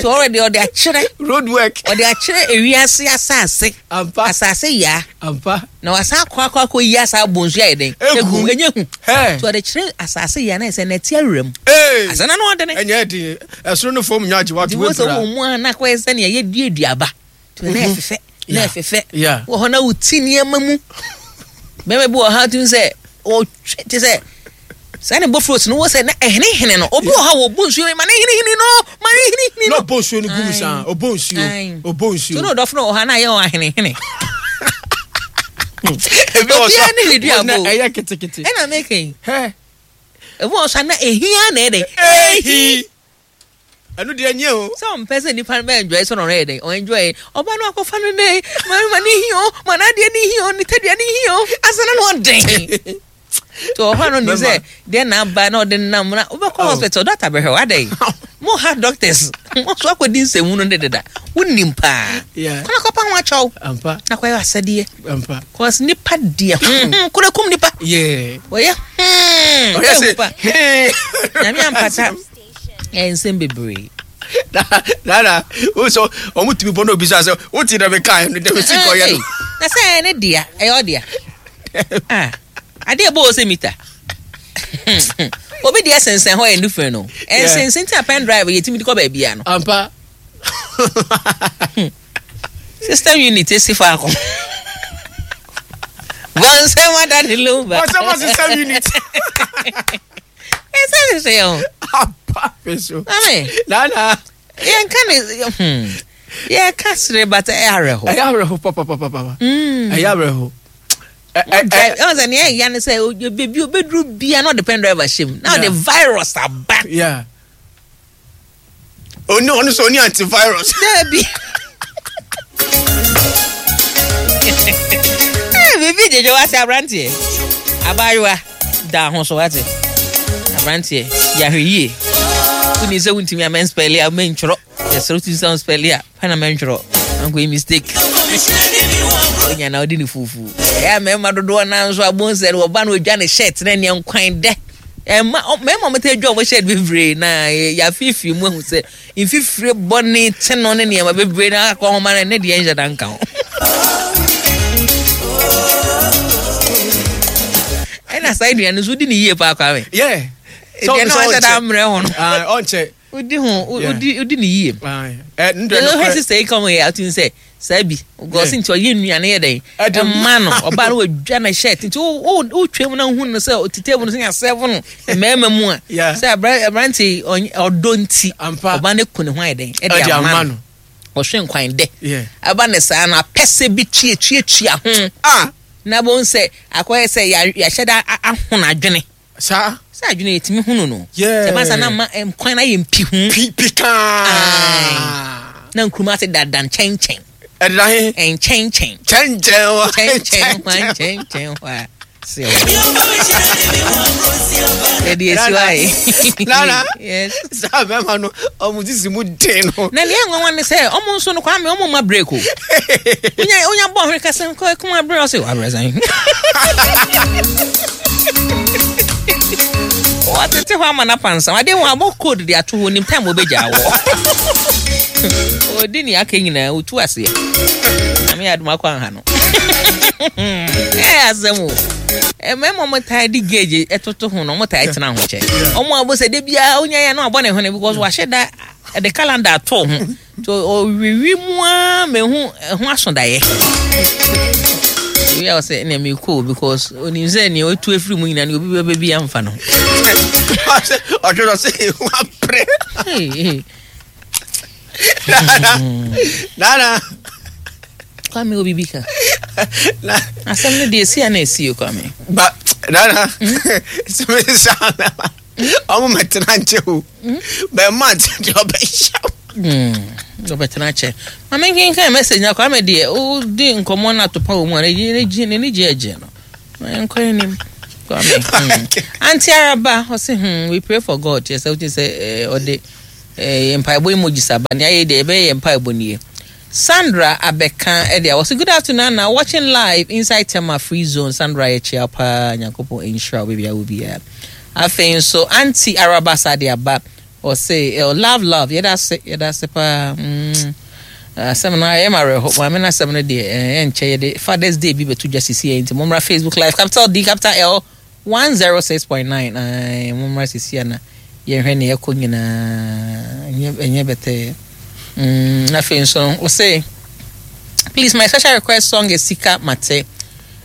So already ɔde akyerɛ. Road work. Ɔde akyerɛ ewiase asase. Ampa. Asase yaa. Ampa. Na wasan akɔ akɔ akɔ yi asa abɔ nsuo ayɛ den. Egu. Enye hu. Hey. So ɔde kyerɛ asase yaa na ɛsɛ nɛte awura mu. Ee. Asɛ na no ɔde ne. Ɛnyɛ den. Ɛsoro no fam nya agye wato wepra. Nti wosɛ wɔ mu a na akɔyɛ sɛ nea yɛdua aduaba. Nti na ɛfefɛ. Na ɛfefɛ. Wɔ hɔ na woti nneɛma mu. Bɛrima bi wɔ ha tumi sɛ ɔtwe te sɛ saa ne bofrot no wɔ sɛ na ɛhenehene no obi wɔ hɔ a wɔbɔ nsuo ma ne henehene no ma ne henehene no. Na ɔbɔ nsuo no gu mu saa ɔbɔ nsuo ɔbɔ nsuo. So na ɔdɔfo no wɔ hɔ a na ayɛ wɔn ahenehene. Ebi wɔ so Obiara ne ne duabɔ o. ɛyɛ ketekete. Ɛna meka yi. Hɛ. Ebi wɔ so a na ehia na ɛdɛ. Ehi. Ɛno deɛ nyɛ o. Sɛ ɔmpɛ sɛ nipa no bɛ enjoy sɛ ɔno yɛ dɛn ɔ enjoy ɔba no akɔfa no dɛ ma ma ne hi o ma n'adeɛ ne hi o ne tadua ne hi o asa na no ɔden nti ɔhɔ no nim sɛ deɛ na aba na ɔde nam na wobɛkɔ oh. hospital doctor bɛhwɛ wo adɛn mo ha doctors mo so akɔdi nsɛmu no de deda wonim paa kɔna kɔpa ho akyɛw na kɔyɛ asɛdeɛ cause nipa deɛ hmm, kora kum nipa wɔyɛ hmm, nyame ampata Ɛyɛ nsɛm bebree. Nana, o sọ ọmọ tumi bọ na obi sọ asẹ o ti dẹbi kaa ẹnu dẹbi si kọ yẹ no. Na sẹ ẹ ne dea, ɛyɛ ɔdea. Ah, adeɛ bɔ ɔsɛ mita. Obi deɛ sensɛn hɔ yɛ different no. Ɛnsensɛn ti na pen drive yɛ timi de kɔ baabi a no. Ampa. System unit esi faako. Bɔnsɛm ada ne lomba. Bɔnsɛm system unit. Ɛsɛ sɛ yɛ ho. Apa fe so. Mame. Nana. Yɛn ka ne yɛ ka sere but ɛyɛ awerɛho. Ɛyɛ awerɛho papapapapa. Ɛyɛ awerɛho. Ɛwɔ sɛ nea ɛyɛ ne sɛ beebi obeduru bia na ɔde pen driver hyɛ mu na ɔde virus aba. Yeah. Oni ɔno sɛ ɔni antivirus. Daabi. Biribi gyegye wate aberanteɛ. Abaayewa da ho so wate. Aberanteɛ yɛahwɛ yie. Woni sɛ wontumi a mɛnspɛle a mɛntwerɛ. Yɛsrɛ wotumi sɛ wonspɛle a pɛ na mɛntwerɛ. Ankɔyɛ mistake. Onya na wode ne fufu. Ɛyɛ a mmarima dodoɔ no nso abonsɛ no wɔba no wɔdwa ne shirt na ɛneɛ nkwan dɛ. Ɛma mmarima wɔn taa dwa wɔn shirt bebree na yɛafeefee mu ahu sɛ mfifire bɔne te no ne nneɛma bebree na akɔ homa no ne deɛ nhyɛ da nka ho. Ɛna saa aduane nso wodi ne yie paa Kwame. Yeah. Aduane a wahyɛ da mmerɛ ho no. Ɔnkyɛ. Wodi ho wodi ne yie. Ɛhwɛ sista yi kɔn yɛ atum sɛ saa bi gɔsi nti ɔyɛ nnuane yɛ dɛn ɛma no ɔbaa no wadwa ne shirt nti wotwa mu na wohu no sɛ ɔte table no sɛ yɛasɛvo no mmarima mu a sɛ aberante ɔdɔ nti ɔbaa no ku ne ho ayɛ dɛn ɛde ama no ɔhwɛ nkwan dɛ ɛba ne saa no apɛsɛ bi tuatuatua ho ah. Na bohu sɛ akɔyɛ sɛ yɛahyɛ da ahono adwene. Saa. Sɛ adwene yɛtumi hunu no. Yeah. Sɛ ɛba na ma nkwan no ayɛ mpihu. Pi pikaa. Na nkuruma ase dada nkyɛnkyɛn. Ɛdeda he? Nkyɛnkyɛn. Kyɛnkyɛn hɔ. Kyɛnkyɛn hɔ nkyɛnkyɛn hɔ a. Sɛ yɛde esi hɔ ayɛ. Nana. Yes. Saa bɛrima no ɔmo sisi mu den no. Na nea nwanwa ne sɛ ɔmo nso no Kwame ɔmo ma break o. Onya onya bɔ ɔhwere kasa kɔ kuma abere ɔsɛ wabrɛ sɛn. Wɔtete hɔ ama no apansam. Adeɛ wɔn abɔ code de ato hɔ nim time wɔbɛgya wɔ. Ɔdi nea aka nyinaa ɔtu aseɛ. Nyame yɛ adom akɔ anha no. Ɛyɛ asɛm o. Mmarima ɔmo taa de gauge ɛtoto ho no ɔmo taa tena ho kyɛ. Ɔmo abɔ sɛ de biara onya yɛ no abɔ ne ho ne because wahyɛ da ɛde calendar ato ho. So ɔwiwi mu ara mehu ɛho asodaeɛ. Ebi a ɔsɛ ɛna mi kɔ because onim sɛ nea otu efiri mu nyinaa nea obi bɛbɛ bi amfa no. Ɔhwɛ no sɛ ehu apere. Nana. Kwame obi bi ka. Asɛm no deɛ esi a na esi o Kwame. Ba nana. Sɛ mi sa na. Ɔmo mɛtena nkyɛ o. Bɛrima nkyɛ deɛ ɔbɛhyɛ o. Ɔbɛtena kyɛ. Maame nkenkan message na Kwame deɛ odi nkɔmɔ na atopa wɔ mu a n'ani gye agye no. Nkɔ anim. Kwame. Auntie Araba ɔse we pray for God kyerɛ sɛ wote sɛ ɔde mpaebɔ emojis aba nea ayɛ deɛ yɛbɛyɛ yɛ mpaebɔ nie. Sandra abɛka ɛde a wɔse good afternoon Nana watching live inside Tema free zone Sandra yɛkyea paa Nyankopɔn nhyira wo baabi a wɔ biara. Afei nso Auntie Araba sa de aba ɔse eh, love love yɛda ase yɛda ase paa mm. Asɛm no ayɛ ma awerɛho maame no asɛm no deɛ eh, ɛnkyɛ yɛde Father's Day bi bɛto dwa sisi yɛ nti mommra Facebook live capital D capital L 106.9 ae mommra sisi a na yɛnhwɛ nea ɛkɔ nyinaa ɛnyɛ ɛnyɛ bɛtɛɛ mm, afei nso ɔse please my special request song is Sika Mate.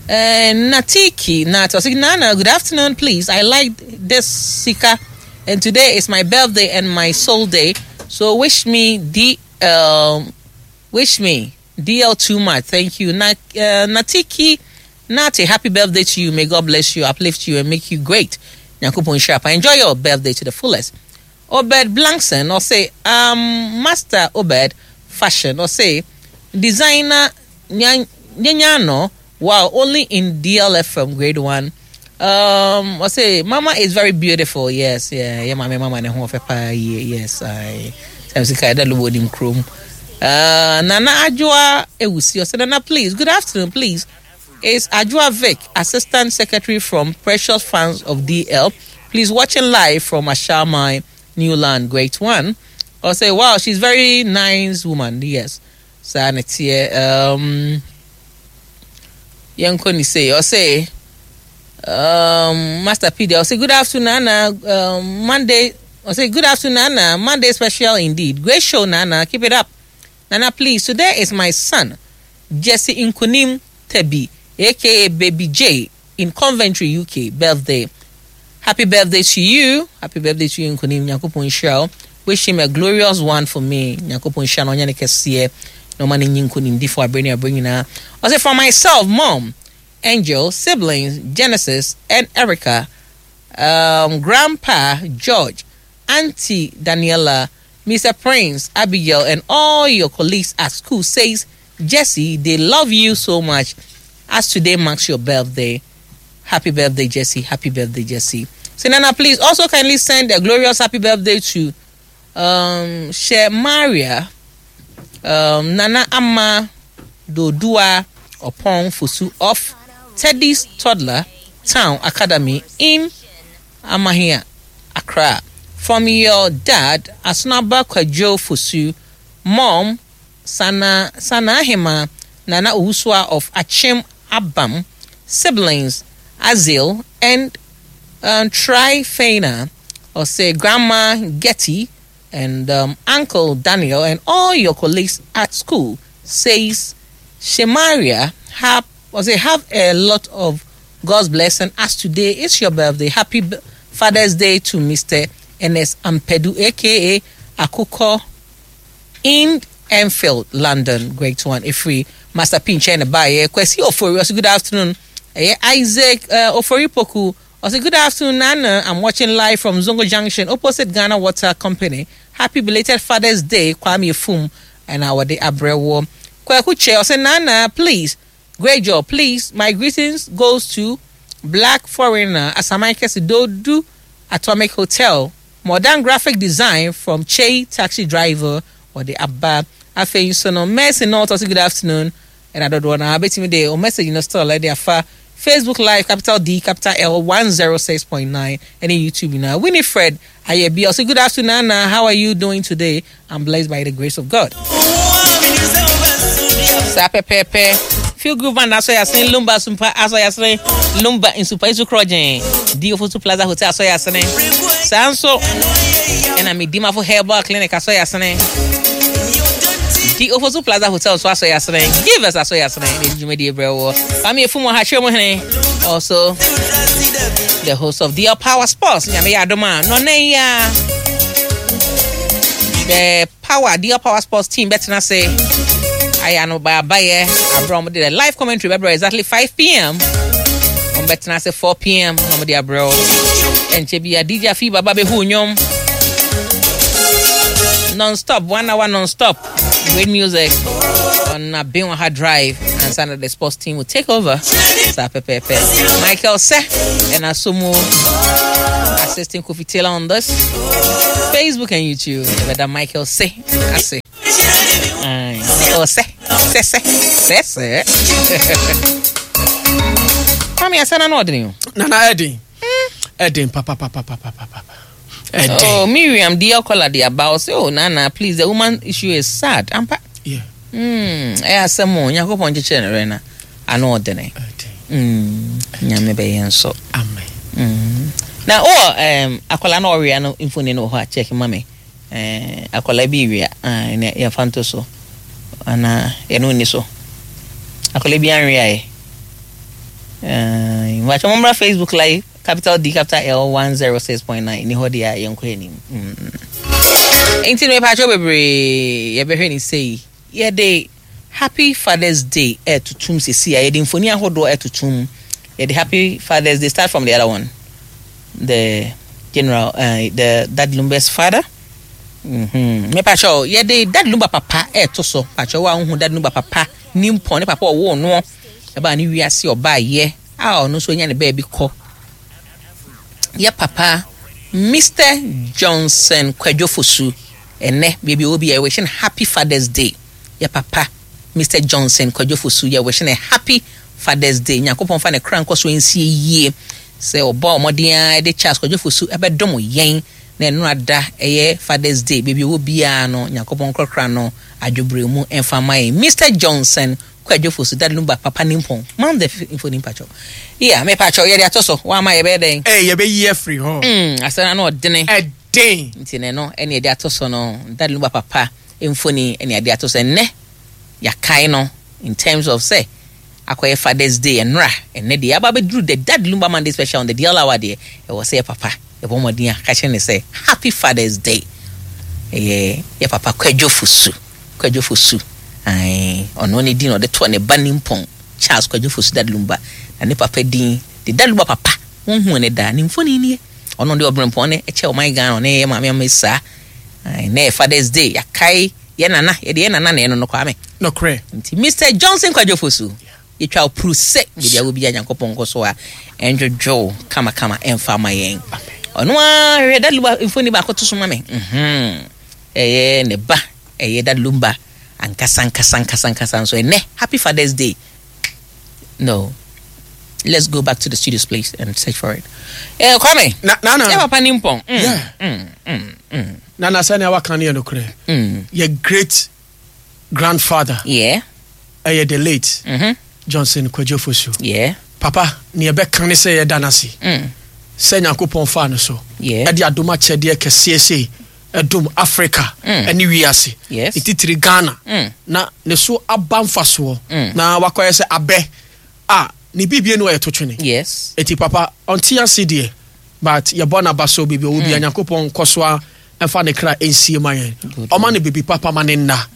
Natiki Nat ɔse Nana good afternoon please I like this Sika and today is my birthday and my soul day so wish me the um, wish me DL too much thank you Na, Natiki Nate happy birthday to you may God bless you uplift you and make you great Nyankopɔn nhyira pa enjoy your birthday to the fullest Obed Blankson ɔse um, Master Obed fashion ɔse designer Nyanyano wow only in DLFM grade 1 um ɔse mama is very beautiful yes yeah yeah mama mama ne ho ɔfɛ paa yie yes I sɛ sika ɛda lobo nim kurom Nana Adwoa Ewusi ɔse Nana please good afternoon please is Adwoa Vic assistant secretary from Precious Fans of DL please watching live from Ashamai Newland great one ɔse wow she's very nice woman yes saa na teɛ um, yɛnkɔ ne sei ɔse um, Master P deɛ ɔse good afternoon Nana um, Monday ɔse good afternoon Nana Monday special indeed great show Nana keep it up Nana please today is my son Jesse Nkunim Tebi aka Baby J in Coventry UK birthday happy birthday to you happy birthday to you Nkunim Nyankopɔn nhyira wo wish him a glorious one for me Nyankopɔn nhyira no ɔnyɛ ne kɛseɛ na ɔma no nyi nkonimdifo abere ne abere nyinaa ɔse for myself mom Angel siblings Genesis and Erica um, grandpa George Auntie Daniela Mr. Prince Abigail and all your colleagues at school says Jesse they love you so much as today marks your birthday happy birthday Jesse happy birthday Jesse so Nana please also kindly send a glorious happy birthday to um, Maria um, Nana Ama Dodua Opon Fosu of Teddy's Toddler Town Academy in Amahia, Accra. From your dad, Asunaba Kwadwo Fosu, mom, Sana Sanahima Nana Owusua of Achim Abam, siblings, Azil and Trifena, or say Grandma Getty and Uncle Daniel and all your colleagues at school, says Shemaria have or say have a lot of God's blessing as today is your birthday. Happy Father's Day to Mr. Ernest Ampedu, aka Akoko in Enfield, London. Great one. If we Master Pinch and Baye. Kwesi Ofori, also good afternoon. Isaac Ofori Poku. Also good afternoon, Nana. I'm watching live from Zongo Junction, opposite Ghana Water Company. Happy belated Father's Day, Kwame Fum, and our day Abrewo. Kweku Che, also Nana, please. Great job. Please, my greetings goes to Black Foreigner Asamaike Sidodu Atomic Hotel, Modern Graphic Design from Che Taxi Driver or the Abba. Afei nso no, Mercy North also good afternoon. And I don't want to bet me there or message in the store like they are far. Facebook Live capital D capital L 106.9 ɛne YouTube nyinaa. Winifred Ayɛbi ɔsɛ good afternoon Nana, how are you doing today? I'm blessed by the grace of God. Saa pɛpɛɛpɛ. Feel Good Band asɔ yasene, Lumba Sumpa asɔ yasene, Lumba Nsupa Isu Krɔgyen, D Ofosu Plaza Hotel asɔ yasene. Saa nso ɛna Medimafo Herbal Clinic asɔ yasene. D Ofosu Plaza Hotel nso asɔ yasene. Givers asɔ yasene. Ne dwumadie brɛ wɔ. Kwame Efum wɔ ha kyerɛ mu hene. Also the host of DL Power Sports. Nyame yɛ adom a nɔnɛ yi a the Power DL Power Sports team bɛtena ase ayɛ ano baabayɛ aberɛ wɔn de the live commentary bɛbrɛ exactly 5 pm. Wɔn bɛtena ase 4 pm na wɔn de abrɛ wo. Ɛnkyɛ bi a DJ Afi Baba bɛhu nnwom non-stop, 1 hour non-stop. Great music on Abenwaha Drive, and Santa the sports team will take over. Sa pepepe. Michael Se and Asumu assisting Kofi Taylor on this Facebook and YouTube. Whether Michael Se, I say. Michael Se, Se Se Se Se. Mami, I said I know. Nana Eddie. Eddie, papa, papa, papa, papa. Oh, Miriam, dear caller, the about say, oh, Nana, please, the woman issue is sad. Ampa. Yeah. Eh, asɛm o, Nyankopɔn kyekyere ne werɛ na ano ɔdene. Nyame bɛyɛ nso. Amen. Na o akwala na ɔwea no mfoni no wɔ hɔ a check ma me. Akwala bi wea, na yɛmfa nto so. Ana yɛno nni so. Akwala bi anwea ɛ. Mwakyɛ mommra Facebook live capital D capital L 106.9 ni hɔ deɛ a yɛnkɔ anim. Nti no mepaakyɛw bebree yɛbɛhwɛ ne sei. Yɛde Happy Father's Day ɛtotom sisi a yɛde mfoni ahodoɔ ɛtotom. Yɛde Happy Father's Day start from the other one. The general the Dad Lumba's father. Mepaakyɛw yɛde Dad Lumba papa ɛto so. Paakyɛw a wohu Dad Lumba papa nimpɔn ne papa ɔwoo noɔ ɛbaa ne wiase ɔbaa yɛ a ɔno nso anya ne baabi kɔ. Yɛ papa Mr. Johnson Kwadwo Fosu ɛnɛ baabi ɔwɔ bi yɛ wishing happy Father's Day. Yɛ papa Mr. Johnson Kwadwo Fosu yɛ wishing a happy Father's Day. Nyankopɔn fa ne kra nkɔ so nsie yie sɛ ɔbɔ ɔmɔden a de Charles Kwadwo Fosu ɛbɛdom yɛn na ɛno ada ɛyɛ Father's Day baabi ɔwɔ biara no Nyankopɔn nkorɔkora no adwobrɛ mu ɛmfa ma yɛn. Mr. Johnson Kwadwo Fosu Dad Lumba papa nimpɔn man the mfoni mpakyɛw. Yeah, me pakyɛw yɛde ato so wama yɛbɛyɛ dɛn? Yɛbɛyi afiri hɔ. Asɛm no ɔdene. Ɛden. Nti na ɛno ɛne yɛde ato so no Dad Lumba papa mfoni ɛne yɛde ato so ɛnnɛ yɛakae no in terms of sɛ akɔyɛ Father's Day ɛnora ɛnnɛ deɛ yɛaba abɛduru the Dad Lumba Monday special on the DL Hour deɛ ɛwɔ sɛ yɛ papa yɛbɔ mmɔden a ka kyerɛ ne sɛ Happy Father's Day ɛyɛ yɛ papa Kwadwo Fosu. Kwadwo Fosu, ae, ɔno ne din a ɔde tɔɔ ne ba nimpɔn, Charles Kwadwo Fosu Dad Lumba, na ne papa din de Dad Lumba papa, wonhuu ne da, ne mfoni nie. Ɔno de ɔbrempɔn ne ɛkyɛ ɔman Ghana, ɔne yɛ maame ama saa. Ae, na yɛ Father's Day, yɛakae yɛ nana, yɛde yɛ nana na ɛno no Kwame. Nokorɛ. Nti Mr. Johnson Kwadwo Fosu, yɛtwa wo puru sɛ baabi a wɔ biara Nyankopɔn nkɔ so a ɛndwodwo wo kamakama ɛmfa ma yɛn. Ɔno ara hwehwɛ Dad Lumba mfoni baako to so ma me. Ɛyɛ ne ba ɛyɛ Dad Lumba ankasa ankasa ankasa ankasa nso ɛnɛ Happy Father's Day. No, let's go back to the studios please and search for it. Kwame, na na na yɛ papa ne mpɔn. Yeah. Na na sɛnea waka no yɛ nokorɛ. Yɛ great grandfather. Yeah. Ɛyɛ the late Johnson Kwadwo Fosu. Yeah. Papa, nea ɛbɛka ne sɛ yɛda no ase sɛ Nyankopɔn faa no so ɛde adom akyɛdeɛ kɛseɛ sei ɛdom Africa ɛne wiase, titiri Ghana, na ne so aba mfasoɔ na wakɔyɛ sɛ abɛ a ne bibie no ɛyɛ to twene. Yes. Eti papa ɔnte ase deɛ, but yɛbɔ n'aba so baabi ɔwɔ bia Nyankopɔn nkɔ so a ɛmfa ne kra ɛnsie ma yɛn, ɔma no biribi papa ma ne nna.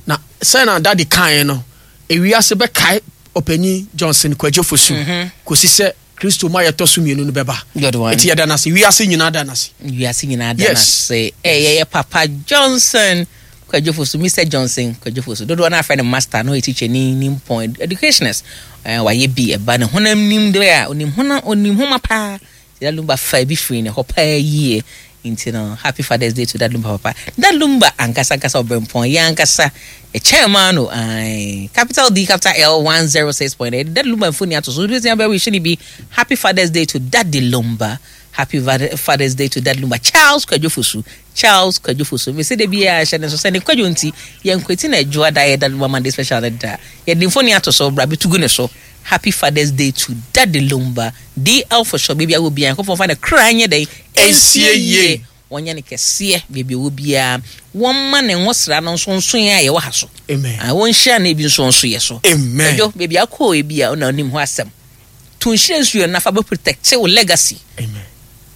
Na sɛ na daddy kaeɛ no, ewiase bɛkae ɔpanyin Johnson Kwadwo Fosu kɔsi sɛ Kristo ma yɛtɔ so mmienu no bɛba. Eti yɛda no ase. Wiase nyinaa da no ase. Wiase nyinaa da no ase. Ɛyɛ yɛ papa Johnson Kwadwo Fosu, Mr. Johnson Kwadwo Fosu. Dodoɔ no afrɛ no master no, ɔyɛ teacher ni, ni mpɔn, educationist. Wayɛ bi ɛba ne honam nim deɛ a, onim honam, onim homa paa. Sɛ Lumba fa bi firi ne hɔ paa yie. Nti no happy father's day to Dad Lumba papa. Dad Lumba ankasa ankasa ɔbrɛmpɔn yɛn ankasa yɛ chairman no ae capital D capital L 106.8 Dad Lumba mfoni ato so wobɛtumi abɛ wish ne bi happy father's day to Daddy Lumba happy father's day to Dad Lumba Charles Kwadwo Fosu Charles Kwadwo Fosu mese da biara hyɛ ne so sɛ ne kwadwo nti yɛn kwati na adwoa da yɛ Dad Lumba Monday special ne da yɛde mfoni ato so bra bɛtugu ne so Happy Father's Day to Daddy Lumba, DL for short, baabi a wɔ biara Nyankopɔn mfa ne kra nyɛ dɛn? Ɛnsie yie, wɔnyɛ no kɛseɛ baabi a ɔwɔ biara, wɔmma ne nwosra no nso nso yɛn a yɛwɔ ha so, Amen. Ah, wɔnhyira no ebi nso nso yɛ so. Amen. Kwadwo, baabi a wokɔɔ ebi a na onim hɔ asɛm. To nhyira nsuo no na fa bɛ protect wo legacy. Amen.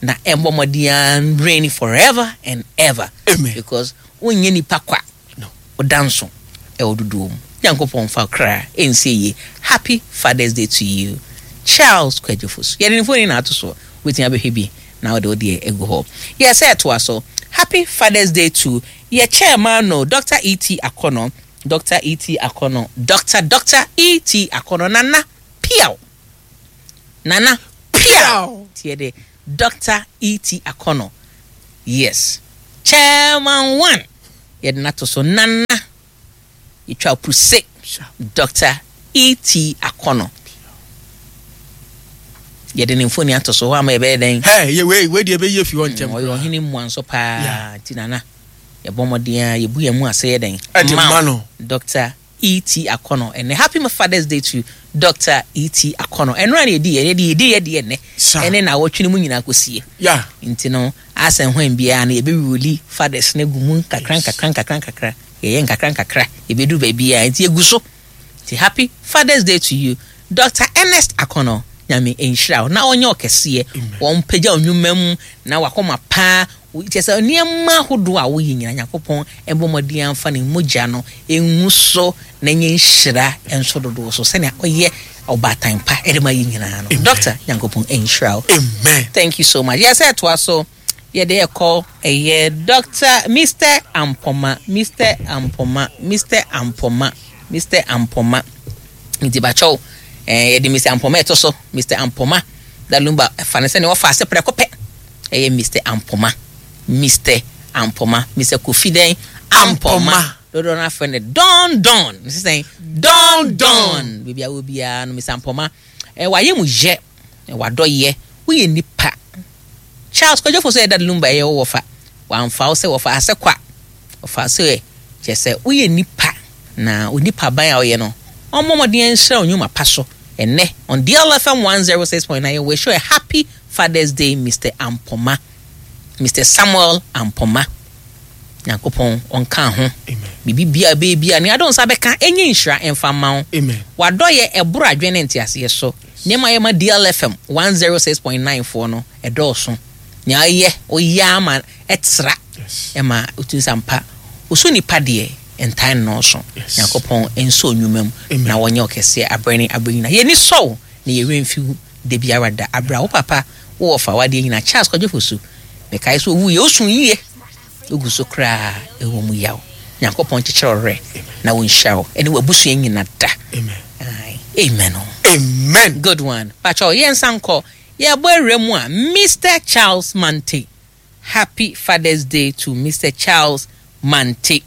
Na ɛmbɔ mmɔden ara reign forever and ever. Amen. Because wonyɛ nipa kwa. No. Ɔda nso ɛwɔ dodoɔ mu. Nyankopɔn mfa wo kra nsie yie. Happy Father's Day to you Charles Kwadwo Fosu. Yɛde ne mfoni na ato soɔ. Wobɛtumi abɛhwɛ bi na wode wo deɛ agu hɔ. Yɛ sɛ ɛtoa so. Happy Father's Day to yɛ chairman no Doctor ET Akɔnɔ, Doctor ET Akɔnɔ, Doctor Doctor ET Akɔnɔ Nana Piaw. Nana Piaw. Nti yɛde Doctor ET Akɔnɔ. Yes. Chairman one yɛde no ato so Nana yɛtwa puse Doctor ET Akɔnɔ yɛde ne mfoni ato so hɔ ama yɛbɛyɛ dɛn? Hey, yɛ wei wei deɛ ɛbɛyi afi hɔ ntɛm. Ɔyɛ ɔhene mmoa nso paa nti Nana yɛbɔ mmɔden a yɛbu yɛn mu ase yɛ dɛn? Ɛde ma no. Doctor ET Akɔnɔ ɛnɛ happy father's day to Doctor ET Akɔnɔ ɛnora na yɛdi yɛ yɛdi yɛdi yɛ ɛnɛ ɛne na awɔtwe no mu nyinaa kɔsie nti no asɛn hwan biara no yɛbɛwuli fathers no agu mu nkakra nkakra nkakra nkakra yɛyɛ nkakra nkakra yɛbɛduru baabi a nti yɛgu so nti happy father's day to you Doctor Ernest Akɔnɔ Nyame nhyira wo na ɔnyɛ ɔkɛseɛ wɔn pagya nnwuma mu na wakɔma paa Kyerɛ sɛ, nneɛma ahodoɔ a woyɛ nyinaa, Nyankopɔn bɔ mmɔden ara mfa ne mogya no ngu so na ɛnyɛ nhyira nso dodoɔ so sɛnea ɔyɛ ɔbaatan pa de ma yɛn nyinaa no. Doctor, Nyankopɔn nhyira wo. Amen. Thank you so much. Yɛ sɛ ɛtoa so, yɛde ɛkɔ ɛyɛ Doctor Mister Ampoma, Mister Ampoma, Mister Ampoma, Mister Ampoma. Nti bakyɛw, eh, yɛde Mister Ampoma ɛto so, Mister Ampoma. Dalumba, fa no sɛnea wɔfa ase prɛko pɛ. Ɛyɛ Mister Ampoma, Mister Ampoma, Mister Kofi dɛn? Ampoma. Dodoɔ no afrɛ no Don Don. Mese sɛn? Don Don. Baabi a wɔ biara no, Mister Ampoma, eh, wayɛ mu yɛ, wadɔ yɛ, woyɛ nipa. Charles Kwadwo Fosu yɛ Dad Lumba ɛyɛ wo wɔfa. Wamfa wo sɛ wɔfa asɛ kwa. Ɔfa sɛ kyerɛ sɛ woyɛ nipa na onipa ban a ɔyɛ no, ɔmmɔ mmɔden nhyira wo nnwuma pa so. Ɛnnɛ, on DLFM 106.9, yɛ wish you a happy Father's Day Mister Ampoma, Mister Samuel Ampoma. Nyankopɔn ɔnka ho. Biribi biara bɛyɛ biara, nea ade wo nsa bɛka, ɛnyɛ nhyira ɛmfa mma wo. W'adɔyɛ ɛboro adwene ne nteaseɛ so. Nneɛma a yɛ ma DLFM 106.9 foɔ no, ɛdɔɔso. Nea ɔyɛ, ɔyɛ ara ma ɛtra, ɛma wotumi sɛ ampa, ɔsɔ nipa deɛ, ntaa nnɔɔso. Nyankopɔn nsɔ nnwuma mu na ɔnyɛ wo kɛseɛ aberɛ ne aberɛ nyinaa. Yɛn ani sɔ wo na yɛn werɛ mfi wo da biara da. Aberɛ a wo papa, wo wɔfa, w'adeɛ nyinaa, Charles Kwadwo Fosu, mekae sɛ ɔwuiɛ, wosu yie, wogu so koraa ɛwɔ mu yaw. Nyankopɔn nkyekyere wo werɛ na ɔnhyira wo ɛne w'abusua nyina da. Amen. Amen. Good one. Pakyɛw, yɛnsan nkɔ. Yɛbɔ awura mu a, Mister Charles Mante. Happy Father's Day to Mister Charles Mante.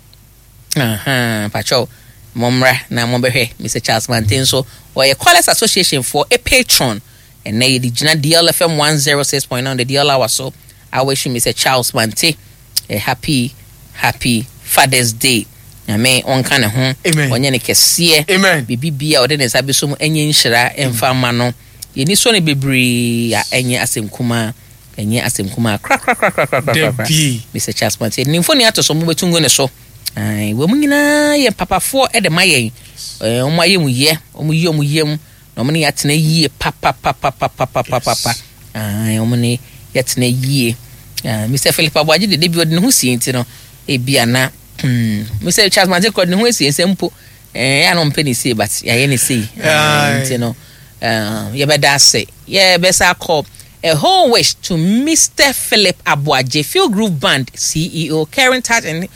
Ahaa, pakyɛw, mommra na mombɛhwɛ Mister Charles Mante nso. Ɔyɛ Callers Association foɔ e patron. Ɛnnɛ yɛde gyina DLFM 106.9 the DL Hour so. I wish you Mister Charles Mante a happy, happy Father's Day. Nyame ɔnka ne ho, Amen. ɔnyɛ ne kɛseɛ. Amen. Biribi bia ɔde ne nsa bɛso mu ɛnyɛ nhyira ɛmfa mma no. Yɛni sɔ no bebree a ɛnyɛ asɛm kumaa. Ɛnyɛ asɛm kumaa korakorakorakorakorakora. Dabi. Mister Charles Mante, ne mfoni ato so, mobɛtu ngu ne so. Ae, wɔn nyinaa yɛ papafoɔ de ma yɛn. Ɛɛ, wɔn ayɛ mu yɛ, wɔn yi wɔn yam, na wɔn ne yɛ atena yie papapapapapapapa. Ae, wɔn ne yɛ atena yie. Ae, Mister Philip Aboagye de, dabi ɔde ne ho sie nti no, ebi ana, Mister Charles Mante kɔ de ne ho asie nsɛm mpo. Ɛɛ, yɛ a na ɔmpɛ ne sei, but yɛayɛ ne sei. Ae, nti no, ɛɛ, yɛbɛda ase. Yɛbɛsa akɔ. A whole wish to Mister Philip Aboagye, Feel Groove Band CEO, Caring Touch and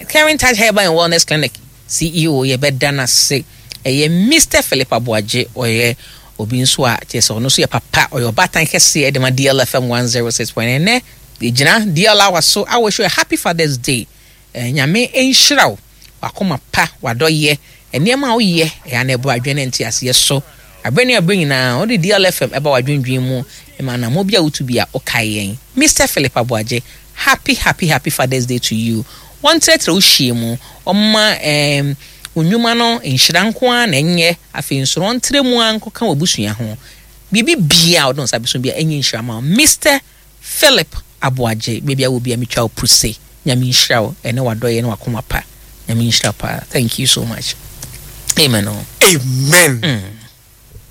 Caring Touch Herbal and Wellness Clinic CEO, yɛbɛda no ase. Ɛyɛ Mister Philip Aboagye, ɔyɛ obi nso a kyerɛ sɛ ɔno nso yɛ papa, ɔyɛ ɔbaatan kɛseɛ de ma DLFM 106.9. Ɛnnɛ, Yɛgyina DL Hour so a wish you a happy Father's Day. Eh, Nyame nhyira wo, w'akoma pa, w'adɔyɛ, nneɛma a woyɛ, ɛyɛ a na ɛbɔ adwene ne nteaseɛ so. Aberɛ ne aberɛ nyinaa, wode DL FM ɛba w'adwendwen mu, ma anammɔn bi a wotu bi a, wokae yɛn. Mister Philip Aboagye, happy happy happy Father's Day to you. Wɔntrɛtrɛ wo hyia mu, wɔmma eh, wo nnwuma no nhyira nko ara na ɛnyɛ, afei nso no wɔntrɛ mu ara nkɔka w'abusua ho. Biribi biara a wode wo nsa bɛso biara ɛnyɛ nhyira ma wo. Mister Philip Aboagye, baabi a wɔ biara metwa wo puse. Nyame nhyira wo ɛne w'adɔyɛ ne w'akoma pa. Nyame nhyira wo paa. Thank you so much. Amen o. Amen.